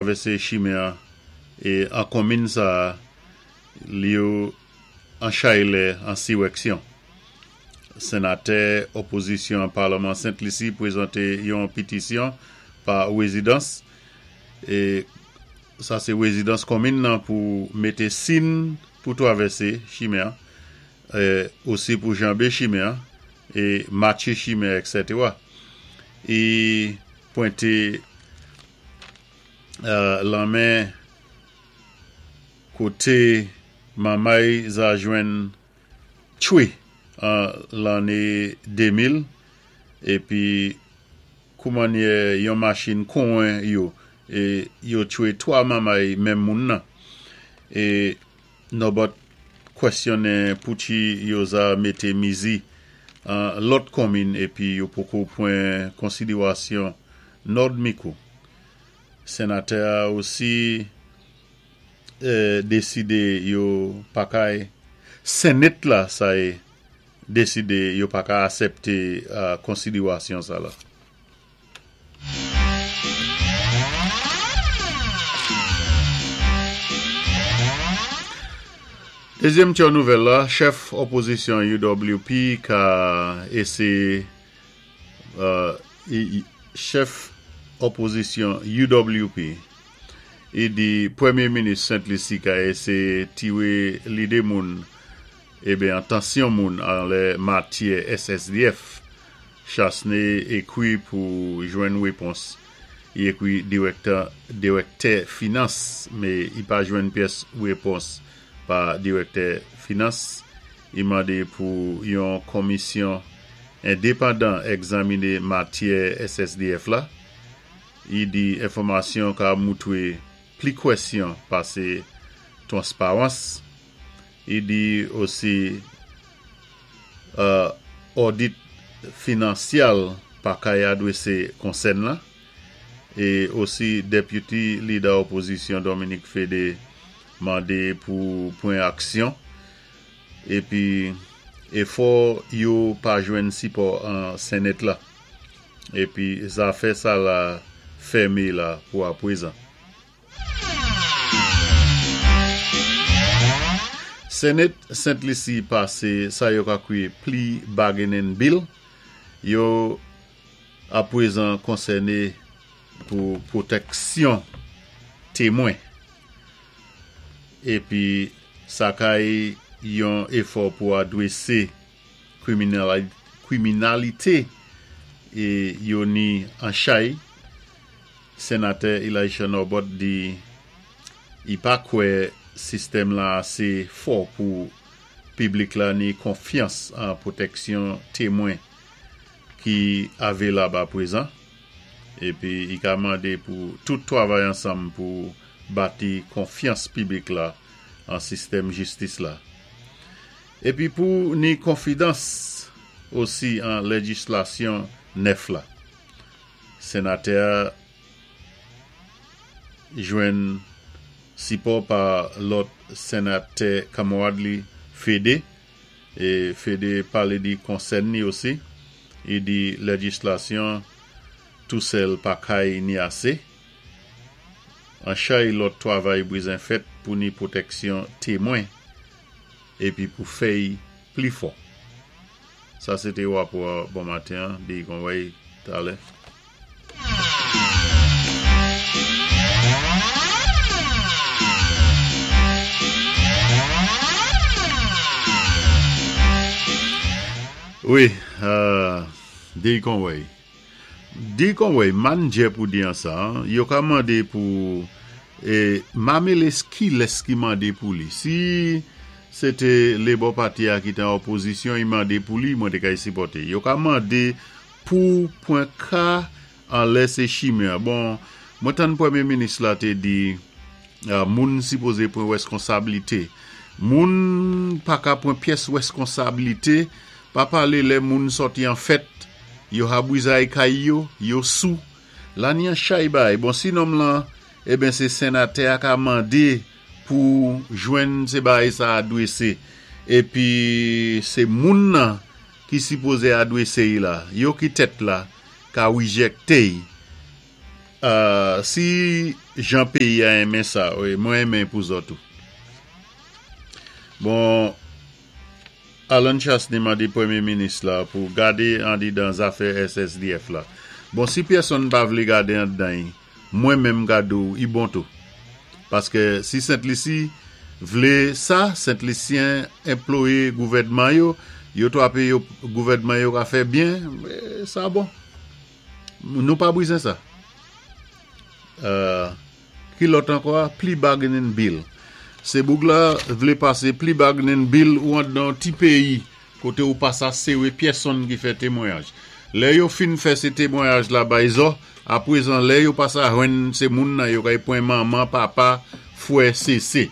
Travèsé chimen an é an konminn sa-a yo an chay lè an siwèksyon. Senatè opozisyon an palman Sent Lisi pwézanté yon pitisyon pa wézidans é sa sé wézidans konminn nan pou mété sinn pou twavèsé chimen an osi pou janbé chimen an é matché chimen èksètera. I pwenté Lanmen kote manmay za jwenn tchwe an lanne 2000 epi koumannyè yon machin konwen yo e yo tchwe 3 manmay menm moun nan e Nòbòt kwèsyonnen pouki yo za mete mizi an lòt konmin epi yo poko pwen konsiderasyon Nòd Mikou. Senatè a osi deside yo pa kay Senate la sa ye deside yo pa ka asèpte konsiderasyon sa la. Dezyèm tyò nouvèl la, chèf opozisyon UWP ka eseye Chèf opozisyon UWP i di premye minis Sent Lisi ka eseye tire lide moun eben antansyon moun anlè matyè SSDF. Chassene ekwi pou jwenn repons. I ekwi direktè finans me i pa jwenn pyès repons pa direktè finans. I mande pou yon konmisyon endepandan egzamine matyè SSDF la. I di enfòmasyon ka moutre pli kwèsyon pase twansparans. I di osi Audit finansyal pa kay adwese konsèn la e osi Deputy Leader Opozisyon Dominique Fedee mande pou pran aksyon epi efò yo pa jwenn sipò an Senate la epi zafè sa la fème la pou apwezan. Senate Sent Lisi pase sa yo ka kwi Plea Bargaining Bill yo apwezan konsène pou pwotèksyon temwen epi sa kay yon efò pou adwese kriminalite yo ni an chay. Senatè Elisha Norbut di i pa kwè sistèm la ase fò pou piblik la ni konfyans an pwotèksyon temwen ki avelab aprezan epi i ka mande pou tout twavay ansanm pou bati konfyans piblik la an sistèm jistis la epi pou ni konfidans osi an lejislasyon nèf la. Senatè a jwenn sipò pa lòt senatè kanmarad li Fede, e Fede pale di konsèn li osi, li di lejislasyon tou sèl pa kay ni ase, an chay lòt twavay bwizen fèt pou ni pwotèksyon temwen epi pou fèy pli fò. Sa se te rapò bon maten an, Bill Conway, talè. Wi, Bill Conway. Di Conway, mannjè pou di an sa, yo ka mande pou e Mameles kilès ki mande pou li? Si se te Labour Party a ki te an opozisyon, i mande pou li, mwen te kay sipòte. Yo ka mande pou pwen ka anlè se chimè. Bon, mwen tann premye minis la te di moun sipoze pran reskonsablite. Moun pa ka pran pyès reskonsablite, pa pale lè moun sòti an fèt. Yo habwizay kay yo, yo sou. Lani an chay bay. Bon si nonm lan eben se senatè a ka mande pou jwenn se bagay sa adrese. Epi se moun nan ki sipoze adrese y la. Yo ki tèt la ka rejecte y. Si jan péyi a enmen sa, mwen enmen pou zò tou. Bon, Allen Chastanet mandé Pwémyé Minis la pou gadé andidan zafè SSDF la. Bon, si pyèsonn pa vlé gadé andan-y, mwen menm ka di-w i bon tou. Paské si Sent Lisi vlé sa, Sent Lisyen enployé gouvèdman yo, yo twapé yo gouvèdman yo ka fè byen, sa bon. Nou pa bizen sa. Ki lòt ankò a? Plea bargaining bill. Se boug la vle pase plea bargaining bill ou andan yon ti peyi kote ou pa sa sewe pyèsonn ki fè temwayaj. Lè yo fin fè se temwayaj la bay zò, aprezan lè yo pa sa jwenn se moun nan yo kay pwen manman, papa, fwè, sese.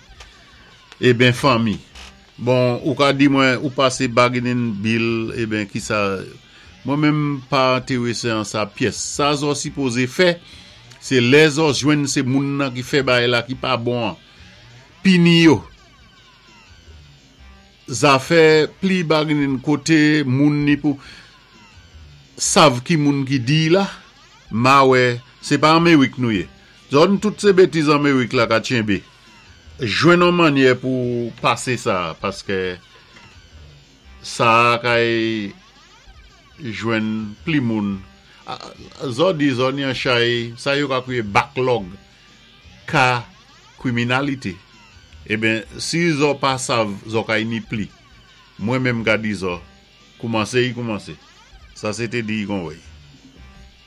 Eben fanmi. Bon ou ka di mwen ou pase bargaining bill eben kisa mwen menm pa enterese an sa pyès. Sa zò sipoze fè se lè zò jwenn se moun nan ki fè bagay la ki pa bon an pini yo. Zafè pli bargaining kote moun ni pou sav ki moun ki diy la ma wè se pa anmerik nou ye. Zòn tout se betiz anmerik la ka tchenbe. Jwenn on mannyè pou pase sa paske sa a kay jwenn pli moun zò di zò ni an chay sa yo ka kriye backlog ka kriminalite eben si zò pa sav zò kay ni pli mwen menm ka di zò koumanse i koumanse sa se te di i konwey.